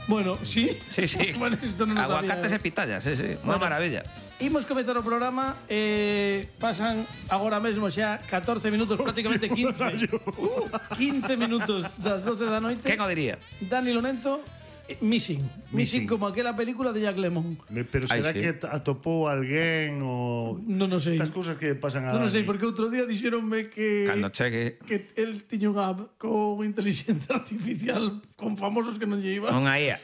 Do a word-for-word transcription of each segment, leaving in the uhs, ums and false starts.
Bueno, sí. Sí, sí. Bueno, isto non o sabía. Aguacates e pitayas, sí, sí. Unha Bueno. maravilla. Imos comezar o programa, eh, pasan agora mesmo xa catorce minutos, prácticamente quince. Uh, quince minutos das doce da noite. Quen o diría? Dani Lorenzo, eh, Missing. Missing. Missing como aquela película de Jack Lemmon. Pero será Ai, sí. que atopou alguén ou... Non o sei. Estas cousas que pasan a Non o sei, Dani. porque outro día dixeronme que... Cando chegue. Que el tiña unha app con inteligencia artificial con famosos que non lle iban. Unha I A.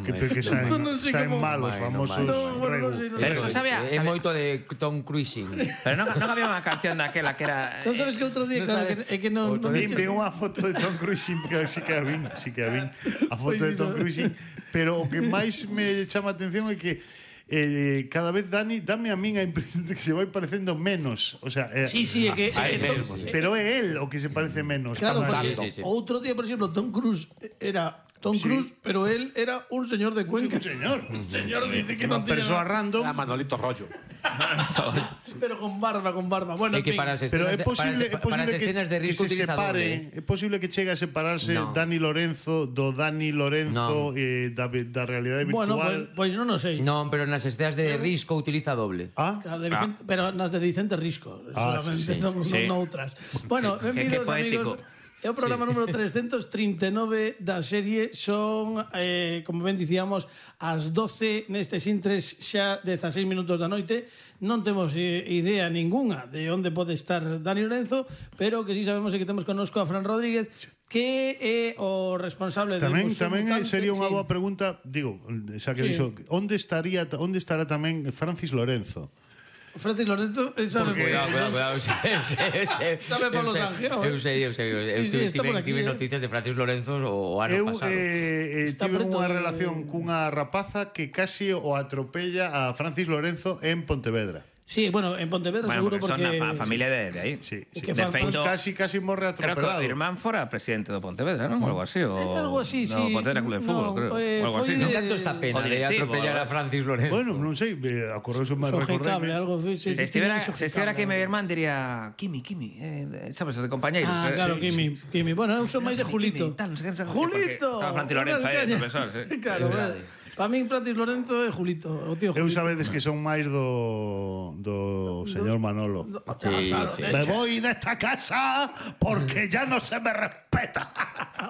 Que, que saen, Non- non sei saen como- malos, Vai, non famosos vai. No, bueno, non regu. sei, non Pero eso sabía, É sabe- moito de Tom Cruising. Pero non, non había unha canción daquela que era... Non sabes que outro día, Non claro, sabes. que, é que non... Outro non Vin, vin unha foto de Tom Cruising, porque sí que a vin, sí que a vin, a foto de Tom Cruising, pero o que máis me chama a atención é que eh, cada vez Dani dame a min a impresión de que se vai parecendo menos, o sea, eh, Sí, sí, é que... Ai, é que mesmo, Tom- sí. pero é el o que se parece menos. Claro, tamaño. porque Sí, sí, sí. outro día, por exemplo, Tom Cruise era Tom Sí. Cruise, pero él era un señor de Cuenca. Un señor, Un señor dice que unha non tiña persoa nada. random. Era Manolito Rollo. Pero con barba, con barba. Bueno, É en que fin. para as Pero escenas é posible, de, é para, para posible as que, escenas de que risco se utiliza separe, doble. é posible que chegue a separarse No. Dani Lorenzo do Dani Lorenzo eh, da, da realidade Bueno, virtual. pois pues, non o sei. Non, pero nas escenas de risco utiliza doble. Ah, A de Vicente, Pero nas de Vicente Risco, Ah, solamente, sí, sí. non, Sí. non outras. Bueno, Qué- benvidos, qué poético. amigos. É o programa sí. número trescentos trinta e nove da serie. Son, eh, como ben dicíamos, as doce nestes intres xa dezaseis minutos da noite. Non temos eh, idea ninguna de onde pode estar Dani Lorenzo, pero que sí sabemos é que temos connosco a Fran Rodríguez, que é o responsable tamén de tamén Mutante. sería unha Sí. boa pregunta, digo, xa que Sí. dixo, onde estaría onde estará tamén Francis Lorenzo? Francis Lorenzo, eh, sabe Porque- por Cuidado, cuidado, cuidado. Eu sei, eu sei, eu sei. Sabe Pablo Eu sei, Sanjeo, eh? Eu sei, eu sei. Eu Sí, sí, está tive, por aquí, tive eh. noticias de Francis Lorenzo o, o ano Eu pasado. eh, eh, Está tive preto unha de- relación cunha rapaza que casi o atropella a Francis Lorenzo en Pontevedra. Sí, bueno, en Pontevedra Bueno, seguro porque porque... son a fa- familia de, de aí. Sí, sí. Que De fan- feito, Casi casi morre creo que atropelado. o irmán fora presidente do Pontevedra, non? O algo así. O, Eh, algo así, no, sí. Pontevedra Club de Fútbol, No, creo. eh, O algo foi así, de- non? Canto está pena O de directivo, atropellar a algo. Francis Lorenzo. Bueno, non sei, eh, acorreuse máis Sojecable, recordeme. algo así. Se estivera, se estivera aquí meu irmán diría Kimi, Kimi, eh, sabes, de compañeiros. Ah, eh, claro, sí, Kimi, sí. Kimi. Bueno, eu son máis de Kimi, Julito. Kimi, tal, non sei que, non sei que, Julito! porque estaba Francis Lorenzo aí, Unha profesor, sí. Claro, É verdade. para min Francis Lorenzo é Julito, o tío Eu Julito. sabedes que son máis do do señor Manolo. Sí, Claro, sí. eh, Me voy de esta casa porque ya no se me respeta.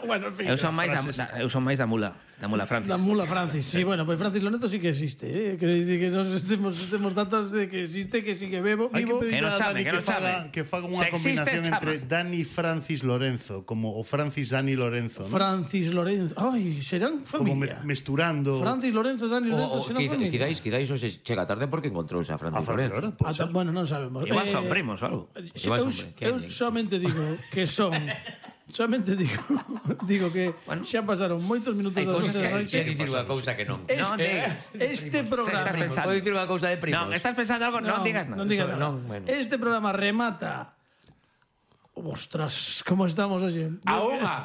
Bueno, en fin. Eu son máis da, da, eu son máis da mula, da mula Francis. La mula Francis, sí, bueno, pues Francis Lorenzo sí que existe, ¿eh? Quiero decir que nos estemos, estemos datos de que existe, que sí que bebo, Hai que vivo. pedir Que nos a chame, Dani que que, nos faga, chame. que faga unha Se existe, combinación chama. entre Dani Francis Lorenzo, como o Francis Dani Lorenzo, ¿no? Francis Lorenzo. Ay, serán Como me- familia. mesturando. Francis Lorenzo, Dani Lorenzo, O, o, serán quizá- familia. quizáis, quizáis hoxe chega tarde porque encontrouse a a Francis Francis Lorenzo. Lorenzo, pode Ata- ser. bueno, non sabemos. Igual Eh, son primos ou algo. Igual eu, son, eu quen? solamente digo que son solamente digo digo que Bueno. xa pasaron moitos minutos Hai das cousas once que da hai que noite. dicir unha cousa que non. Non Este, digas. este Estás programa pensando. Podo dicir unha cousa de primos. Non, estás pensando algo, non, digas nada. Non digas Eso, nada. non, bueno. Este programa remata. Ostras, como estamos hoxe? A unha.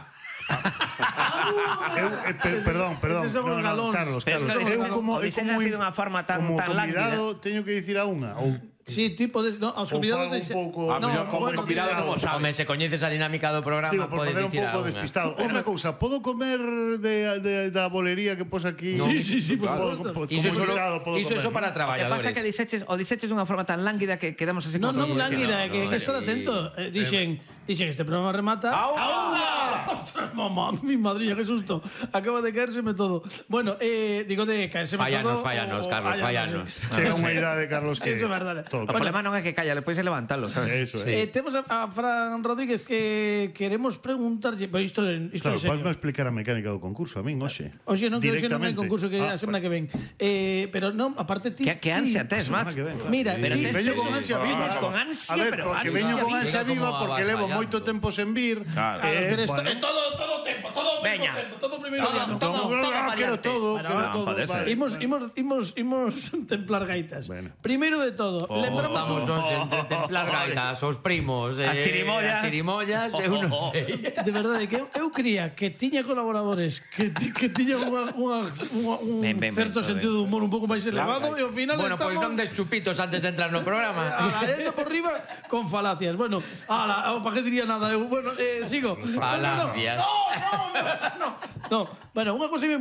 Eu, eh, per, perdón, perdón. Eses son os galóns. Carlos, Pero es Carlos. que Eu o como, eu Odisea como, ha sido unha forma tan- como tan convidado teño que dicir a unha. Ou, Sí, tipo de, no, aos ou convidados fago de un pouco... A mellor como bueno, convidado non o sabe. Home, se coñeces a dinámica do programa, Digo, por podes facer un dicir a pouco unha. despistado. Outra cousa, podo comer de, de, da bolería que pos aquí? Sí, sí, sí, por Podo- supuesto. podo- Iso é como solo, invitado podo iso é comer, só para ¿no? O que traballadores. pasa é que diseches, o diseches dunha forma tan lánguida que quedamos así No, como... non lánguida, No, que, no, que estar sí. atento. Eh, dixen, dixen, este programa remata. A unha. Ostras, mamá, mi madrilla, qué susto. Acaba de caérseme todo. Bueno, eh, digo de caérseme Fállanos, todo. fállanos, o- o- Carlos, fállanos. fállanos. Chega unha idade, Carlos, que... Eso é verdade. todo O cambia. problema non é que calla, despois é levantalo, sabes? Eso Eh, é. temos a, a Fran Rodríguez que queremos preguntarlle, pois isto isto Claro, é serio. podme explicar a mecánica do concurso a min, hoxe. Oxe, non que hoxe non hai Directamente. concurso que Ah, a semana que ven. Eh, pero non, aparte ti. Que, que ti- ansia tes, semana macho. que ven, claro. Mira, Pero ti- tes- Veño con sí, ansia sí, viva. vamos con ansia, A ver, pero porque ansia veño con viva. ansia Mira viva como porque levo avasallando. moito tempo sen vir. Claro. Claro, Eh, pero esto, bueno. eh, todo, todo tempo, todo Veña. tempo, todo primeiro Todo, día, ¿no? todo. No, no, variante. quero todo, Bueno, quero no, todo. pode ser. vale. Imos, imos, imos, imos templar gaitas. Bueno. Primeiro de todo, Oh, lembramos Estamos Oh, hoxe oh, entre oh, templar oh, gaitas, os primos, eh, As chirimollas. as chirimollas, eu non sei. de verdade que eu, eu cría que tiña colaboradores que, ti- que tiña unha, unha, unha, un Ben, ben, ben, certo todo sentido de humor un pouco máis elevado e ao final Bueno, pois estamos non des chupitos antes de entrar no programa. Alaendo por riba con falacias. Bueno, ala, para que diría nada eu. Bueno, eh, sigo. Falacias. No, no, no, no, no. Bueno, unha cousa moi importante